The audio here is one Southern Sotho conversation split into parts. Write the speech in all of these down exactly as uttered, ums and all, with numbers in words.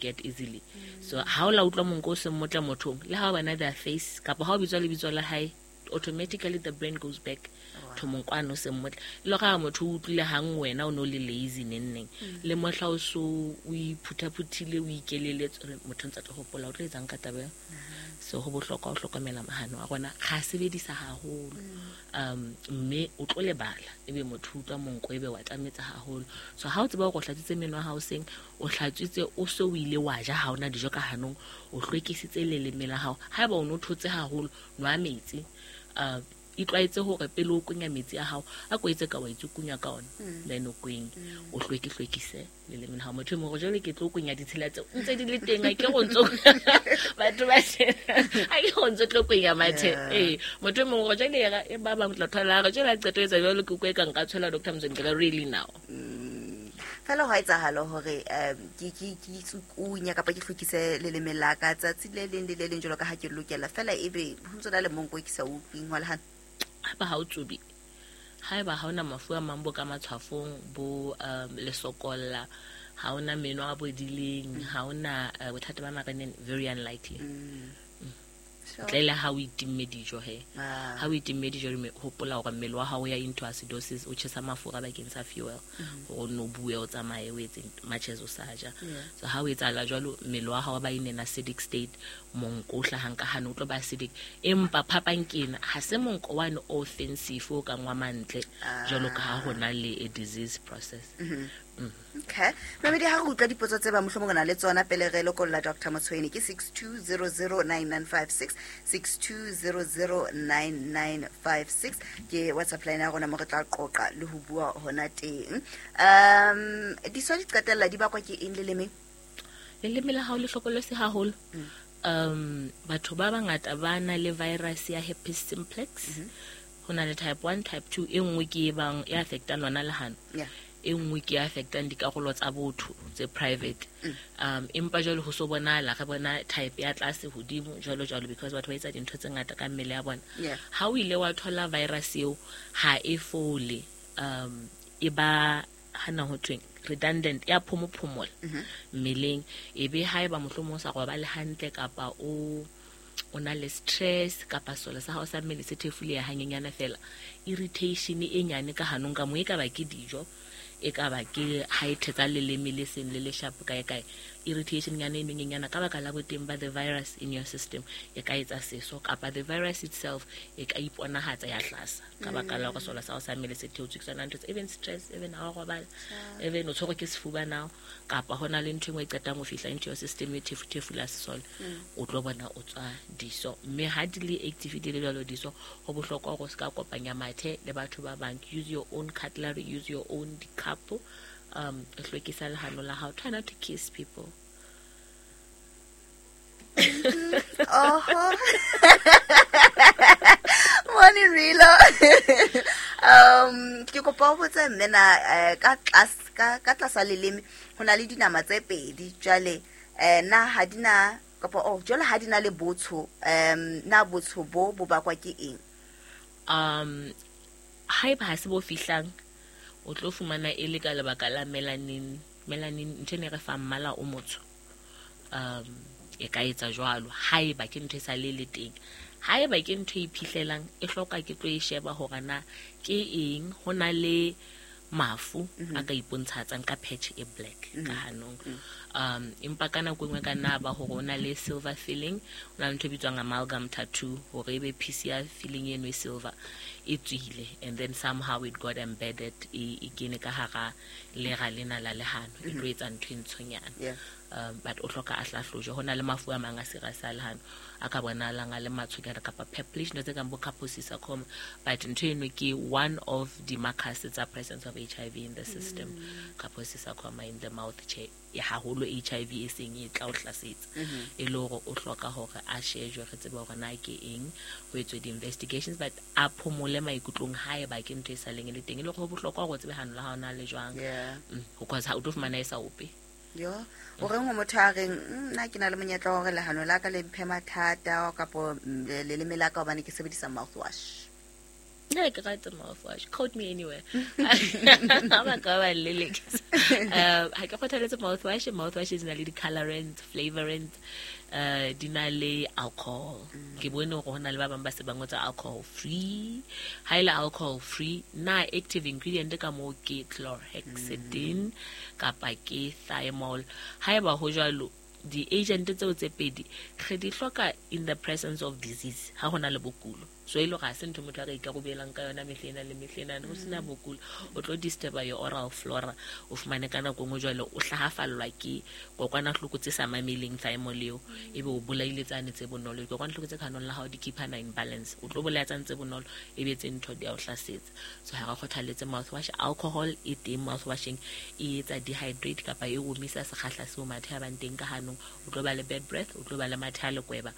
forget easily. So ha o la utlwa monko o seng motle mothong, le ha o bona their face kapa ha o bitswa lebitso la hae, automatically the brain goes back to monko ano o seng motle. Le ga motho o utlwile hang wena o no le lazy neng neng, le mohla o so o iphutaphuthile, o ikeleletse, motho ntse a tlo hopola o tlo etsang ka taba eo. So ho bohlokwa ho hlokomela mahano a rona, ga sebedisa haholo, um mme o tlo lebala, ebe motho o utlwa monko, ebe wa tlametsa haholo. So ha o tseba hore o hlatswitse meno a hao seng, o hlatswitse, o so o ile wa ja, ha ona dijo ka hanong, o hlwekisitse leleme la hao. Haeba o no thotse haholo, nwa metsi. uh, itlwaetse hore pele o kwenya metsi a hao, a ko etse ka wa itsukunya ka ona, then o kwenye, o hlweke hlwekise leleme la hao. Motho e mong hore jwale ke tlo kwenya ditshila tseo ntse di le teng, a ke go ntso batho ba a ke go ntso tlo kwenya mathe. Ee, motho e mong hore jwale e ba bang tla thola re jwale a qeto etsa jwalo, ke utlwe ka nka tshwela Doctor Mzweni ke re really now. Fela ho etsahala hore um ke ke ke itsukunya kapa ke hlwekise leleme la ka tsatsi le leng le le leng jwalo ka ha ke lokela, fela ebe ho ntso na le monko e ke sa utlwing wa lehano. Haeba ha o tsubi, haeba ha ona mafu a mang bo ka matshwafong, bo um lesokolla, ha ona meno a bodileng, ha ona uh, bothata ba mareneng, very unlikely. Sure. Ntle le ha o itimme dijo he. Ah. Ha o itimme dijo, re hopola hore mmele wa hao o ya into acidosis, o tjhesa mafura bakeng sa fuel hore o nno bue, o tsamaye, o etse much as o sa ja. So ha o etsahala jwalo, mmele wa hao ba in an acidic state, monko o hlahang ka hano o tlo ba acidic. Empa phapang ke ena, ha se monko wane o offensive o kang wa mantle jwalo ka ha hona le a disease process. Okay, mamedi, ha re utlwa dipotso tse ba mohlomong re na le tsona pele re lokolla Doctor Motshweni, ke six two zero zero nine nine five six, six two zero zero nine nine five six ke WhatsApp line ya rona mo re tla qoqa le ho bua hona teng. um diso di qetella di bakwa ke eng lelemeng? Leleme la hao le hlokolosi haholo. um batho ba bangata ba na le virus ya herpes simplex. Ho na le type one, type two. E nngwe ke e bang e affectang lona lehano, Yeah. e nngwe ke e affectang dikarolo tsa botho tse private. um empa jwale ho so bonahala re bona type ya tlase hodimo jwalo jwalo, because batho ba etsa dintho tse ngata ka mmele ya bona. Yeah. Ha o ile wa thola virus eo, ha e fole, um e ba hana ho thweng redundant, ya phomophomola mmeleng. E be haeba mohlomong o sa robale hantle, kapa o o na le stress, kapa sole sa hao sa mmele se thefuleha hanyenyana fela, irritation e nyane ka hanong ka mo, e ka ba ke dijo, e ka ba ke ha e thetsa leleme le seng le le sharp kae kae, irritation nyane e nyenyana ka baka la boteng ba the virus in your system e ka etsa seso, kapa the virus itself e ka iponahatsa ya hlasa ka baka la hore sole sa hao sa mmele se theotswe ke tsona ntho tse, even stress, even ha o robala, even o tshwerwe ke sefuba now, kapa hona le ntho e nngwe e qetang ho fihla into your system e thefu-thefula sesole, o tlo bona o tswa diso. Mme ha di le active, di le jwalo diso, ho bohlokwa hore o se ka kopanya mathe le batho ba bang. Use your own cutlery, use your own cup, um hlwekisa lehano la hao. Try not to kiss people. Oho. Morning, Rilo. um ke kopa ho botsa mme na eh, ka tlase ka ka tlasa leleme ho na le dinama tse pedi, jwale eh na ha di na kapa oh jwale ha di na le botsho, um na botsho bo bo bakwa ke eng? um haeba ha se bo fihlang, o tlo fumana e le ka lebaka la melanin. Melanin ntho e ne re fa mmala o motsho. um e ka etsa jwalo haeba ke ntho e sa le le teng. Haeba ke ntho e iphihlellang, e hloka ke tlo e sheba hore na ke eng. Ho na le mafu a ka ipontshatsang ka patch e black ka hanong. um empa ka nako e nngwe ka nna ba hore o na le silver filling, o na le ntho e bitswang amalgam tattoo, hore ebe piece ya filling eno e silver e tswile, and then somehow it got embedded, e e kene ka hara lera lena la lehano, e tlo etsa ntho e ntshonyana. Yeah. um but o hloka a hlahlojwe. Ho na le mafu a mang a serious a lehano a ka bonahalang a le matshonyana kapa purplish, ntho tse kang bo Kaposi sarcoma, but ntho eno ke one of the markers tsa presence of H I V in the system. Kaposi sarcoma in the mouth, tjhe, e haholo H I V e seng e tla o hlasetsa, e le hore o hloka hore a shejwe, re tsebe hore na ke eng, ho etswe di-investigations, but a phomole maikutlong haeba ke ntho e sa leng e le teng, e le hore ho bohlokwa hore o tsebe hano la hao na le jwang. Yeah. Mm, because ha o tlo fumana e sa ope. Yo, o reng ho motho a reng, "Mm, nna ke na le monyetla wa hore lehano la ka le mphe mathata kapo mm, le- leleme la ka hobane ke sebedisa mouthwash"? Nna ke rata mouthwash. Quote me anywhere. Ha ba ka ba lelekisa. Uh, ha ke kgothaletse mouthwash. Mouthwash di na le di-colorants, flavorants, uh, di na le alcohol. Ke bone hore ho na le ba bang ba se ba ngotse alcohol free. Ha e le alcohol free, na active ingredient ka moo ke chlorhexidine kapa ke thymol. Haeba ho jwalo, di-agent tseo tse pedi re di hloka in the presence of disease, ha ho na le bokulo. So e le hore ha se ntho motho a ka ikarobelang ka yona mehlena le mehlena, ho sena bokulo, o tlo disturba your oral flora. O fumane ka nako e nngwe jwale o hlahafallwa ke kokwanahloko tse sa mameleng thymol eo, ebe o bolaile tsane tse bonolo. Dikokwanahloko tse ka hanong la hao di keepana in balance, o tlo bolaya tsane tse bonolo, ebe tse ntho di a o hlasetsa. So ha re kgothaletse mouthwash. Alcohol e teng mouthwashing, e etsa dehydrate kapa e omisa sekgahla seo mathe a bang teng ka hanong. O tlo ba le bad breath, o tlo ba le mathe a lekweba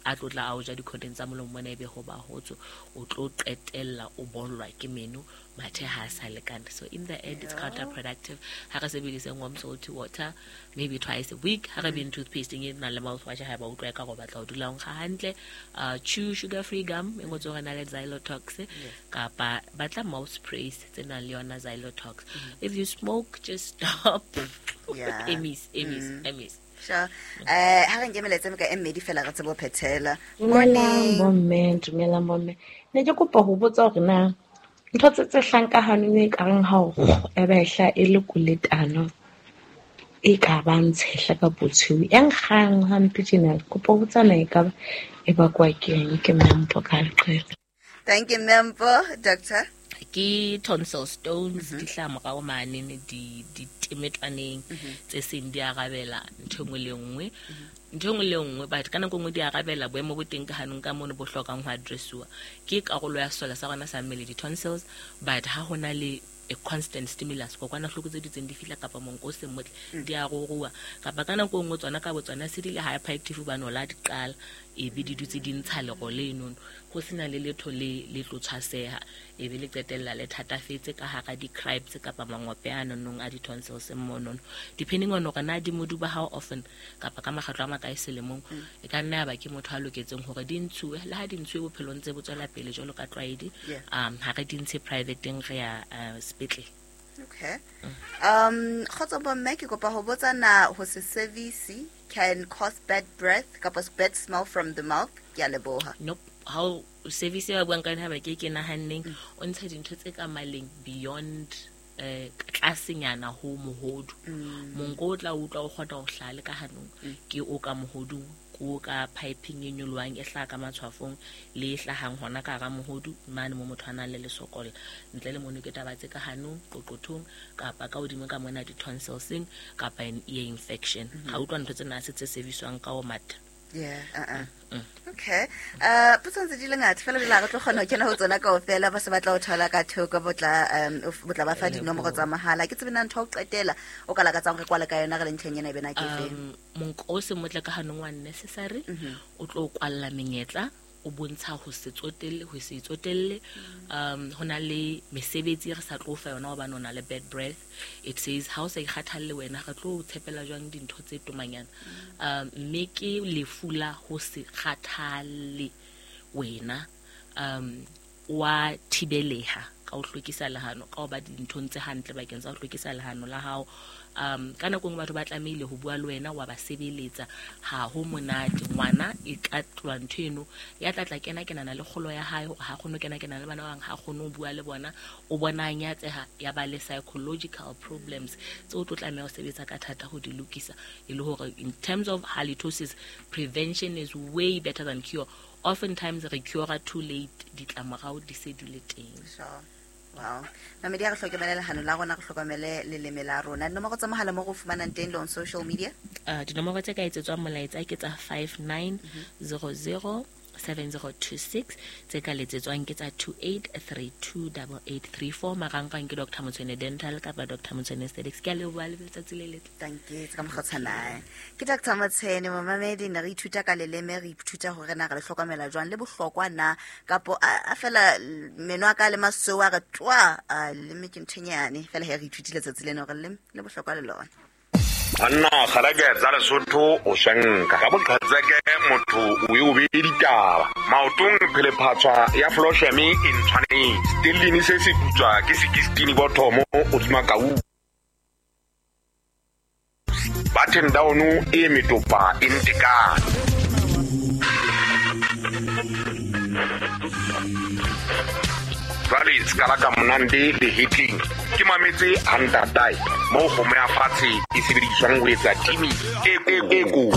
a tlo tla a o ja dikhoteng tsa molomo mona, ebe ho ba hotso, o tlo qetella o bollwa ke meno, mathe ha a sa lekana. So in the end, it's counterproductive. Ha re sebedise warm salty water maybe twice a week. Ha re beng toothpaste e nang le mouthwash, ha ba utlwa ka go batla ho dula o nkga hantle. Uh, chew sugar free gum e ngotswe hore na le xylotox, kapa batla mouth sprays tse nang le yona xylotox. If you smoke, just stop. Yeah. Emis, emis, emis. Sure. Eh, ha re nke melaetsa ka e mmedi fela re tsebe ho phethela. Dumelang bomme, dumelang bomme. Ne ke kopa ho botsa hore na ntho tse tse hlang ka hanong e kareng ha o e ba ehla e le koletano e ka ba ntshehla ka botshweu e nkgang hampe tjena. Kopa ho botsa na e ka ba e bakwa ke eng? Ke Mmempo ka leqele. Thank you, Mmempo. Doctor? Ke tonsil stones, di hlaha morao mane di di temetwaneng tse seng di arabela ntho e nngwe le nngwe. Ntho e nngwe le nngwe, but ka nako e nngwe di arabela boemo bo teng ka hanong ka mono bo hlokang ho addressiwa. Ke karolo ya sesole sa rona sa mmele di-tonsils, but ha ho na le a constant stimulus, kokwanahloko tse dutseng di fihla kapa monko o seng motle, di a ruruwa. Kapa ka nako e nngwe tsona ka botsona se di le hyperactive hobane o la di qala, ebe di dutse di ntsha lero lenono, ho sena le letho le le tlo tshwaseha, ebe le qetella le thatafetse ka hara di-cribes kapa mangope a nonong a di-tonsils monono. Depending on hore na di moduba how often kapa ka makgetlo a makae selemong, e ka nna ya ba ke motho a loketseng hore di ntshuwe. Le ha di ntshuwe bophelong tse bo tswela pele jwalo ka tlwaedi, um ha re di ntshe privateng, re ya uh, sepetlele. Okay. Um, kgotso bomme, ke kopa ho botsa na ho se service can cause bad breath kapa bad smell from the mouth? Ke a leboha. Nope. Ha o service ba buang ka yona ha ba ke ke nahanneng, o ntsha dintho tse ka maleng beyond eh tlasenyana ho mohodu. Monko o tla utlwa o kgona ho hlaha le ka hanong, ke o ka mohodung, ke o ka piping e nyolohang e hlaha ka matshwafong le e hlahang hona ka hara mohodu mane mo motho a nang le lesokola. Ntle le mono ke taba tse ka hanong, qoqothong kapa ka hodimo ka mona di-tonsilseng kapa an ear infection. Ha utlwa ntho tsena se tse serviswang ka ho matha. Yeah, uh-uh. Mm. Okay. Uh, potso ntse di le ngata fela jwale ha re tlo kgona ho kena ho tsona kaofela. Ba se batla ho thola ka thoko, bo tla um bo tla ba fa dinomoro tsa mahala. Ke tsebe na ntho ya ho qetela o ka lakatsang re kwale ka yona re le ntlheng ena e bena ke efeng? Um, monko o se motle ka hanong wa necessary, o tlo kwalla menyetla, o bontsha ho se tsotelle, ho se itsotelle. Um, ho na le mesebetsi e re sa tlo fa yona hobane o na le bad breath. It says ha o sa ikgathalle wena, re tlo o tshepela jwang dintho tse tomanyana. Um, mme ke lefu la ho se kgathalle wena, um, wa thibeleha ka ho hlwekisa lehano, ka ho ba dinthong tse hantle bakeng sa ho hlwekisa lehano la hao. Um, ka nako e nngwe batho ba tlamehile ho bua le wena, wa ba sebeletsa, ha ho monate. Ngwana e ka tloha ntho eno ya tla tla kena kenana le kgolo ya hae, hore ha kgone ho kena kenana le bana ba bang, ha kgone ho bua le bona, o bona a nyatseha, ya ba le psychological problems tse o tlo tlameha ho sebetsa ka thata ho di lokisa. E le hore in terms of halitosis, prevention is way better than cure. Oftentimes re cure too late, ditlamorao di se di le teng. Sure. Wow. Mamedi, ha re hlokomele lehano la rona, re hlokomele leleme la rona. Dinomoro tsa mohala mo re fumanang teng le on social media? Uh, dinomoro tse ka etsetswang molaetsa ke tsa five nine zero zero seven zero two six, tse ka letsetswang ke tsa two eight three two double eight three four. Marangrang ke Doctor Motshwene Dental kapa Doctor Motshwene Aesthetics. Ke a leboha le letsatsi le letle. Thank you. Ka mokgwa o tshwanang. Ke Doctor Motshwene, momamedi, ne re ithuta ka leleme, re ithuta hore na re le hlokomela jwang, le bohlokwa na kapo a fela meno a ka le masweu a re twa, a leleme ke ntho e nyane. Fela he re ithutile letsatsi lena hore leleme le bohlokwa le lona. Banna kgalake tsa Lesotho o shanka ka boqhetseke motho o e o be ditaba. Maotong phelephatswa ya Flosheme e ntshwanetse. Stellini se se putswa ke sixteen bothomo hodima kau. Button down e metopa e ntekane. Jwale ska la ka monande le hitting. Ke mametse hantatai mo kgomo ya fatshe e sebediswang ho etsa timi e e ko.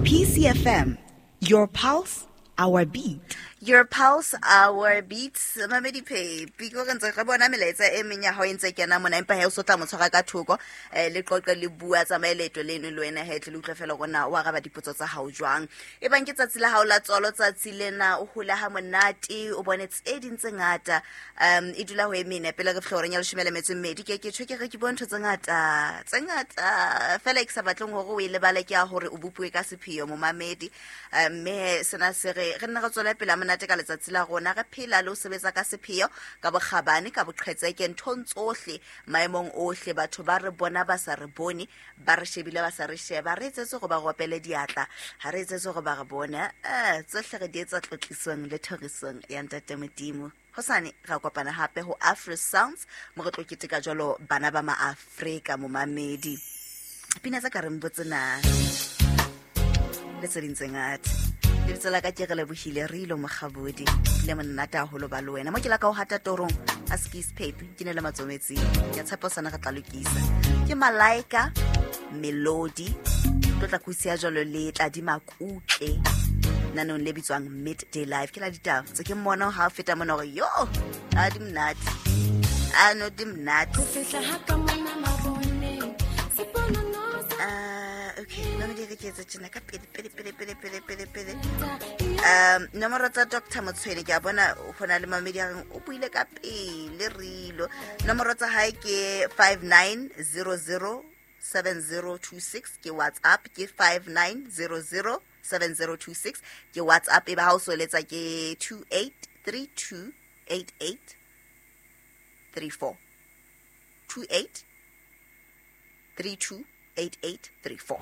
P C F M, your pulse, our beat. Your pulse, our beats. Mamedi Phepi, ko re ntse re bona melaetsa e meng ya hao e ntse kena mona, empa he o so tla mo tshwara ka thoko, eh le qoqe le bua tsamaye leeto leno le wena he tle le utlwe fela hore na o araba dipotso tsa hao jwang. E bang ke tsatsi la hao la tswalo, tsatsi lena o hola ha monate, o bone tse ding tse ngata. Um e dula ho e mene pele re fihla horeng ya leshome le metso e mmedi. Ke ke tjho ke re ke bone ntho tse ngata, tse ngata fela e ke sa batleng hore o e lebale ke ya hore o bopuwe ka sepheo momamedi. Mme sena se re re nne re tswele pele ha monate ka letsatsi la rona, re phela le ho sebetsa ka sepheo, ka bokgabane, ka boqhetseke nthong tsohle, maemong ohle. Batho ba re bona ba sa re bone, ba re shebile ba sa re sheba, re etsetse hore ba ropele diatla, ha re etsetse hore ba re bone. Eh tsohle re di etsa tlotlisong le thorisong ya Ntate Modimo. Hosane ra kopana hape ho Afro Sounds, mo re tlo keteka jwalo bana ba maAfrika momamedi. Pina tsa ka re mbotse na le tse ding tse ngata. Lebitso la ka ke re lebohile re ilo mokgabodi le monate haholo ba le wena. Mo ke la ka o hata torong a skis pape ke ne le matsometsing. Ke a tshepa sana re tla lokisa. Ke Malaika Melody tlo tla kusia jwalo le tla di makutle nanong le bitswang Midday Live. Ke la ditaba tse ke mmona ha o feta mona hore yo a di monate, a no di monate. Ah, okay, nna di re ke tse tjena ka pele pele pele pele pele pele pele. Um nomoro tsa Doctor Motshweni ke a bona ho na le mamedi a reng o buile ka pele rilo. Nomoro tsa hae ke five nine zero zero seven zero two six ke WhatsApp, ke five nine zero zero seven zero two six ke WhatsApp. E ba ha o so letsa ke two eight three two eight eight three four, two eight three two eight eight three four.